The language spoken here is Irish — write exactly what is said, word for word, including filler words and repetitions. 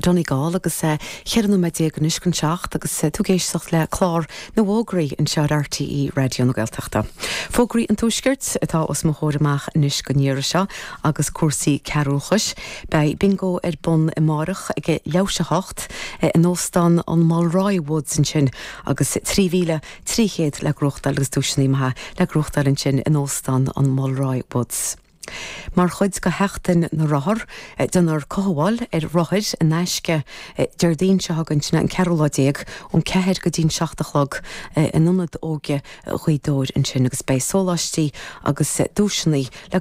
Donegal agus cheithre nóiméad déag anois chun seacht agus tú ag éisteacht le clár na bhfógraí anseo ar RTÉ Raidió na Gaeltachta. Fógraí an Tuaiscirt atá os mo chomhair amach anois don iarraidh seo agus cúrsaí cearúchais, Beidh bingo ar bun amárach ag leathuair théis a hocht in óstán an Mulroy Woods ansin agus trí mhíle trí chéad le gnóthachtáil agus duaiseanna maithe le gnóthachtáil ansin in óstán an Mulroy Woods. Mar chuid de Sheachtain na Rothar déanfar cothabháil ar rothair in aisce Déardaoin seo chugainn sin an ceathrú lá déag ón ceathair go dtí'n seacht a chlog in ionad óige Ghaoth Dobhair ansin agus beidh sóláistí agus duaiseanna le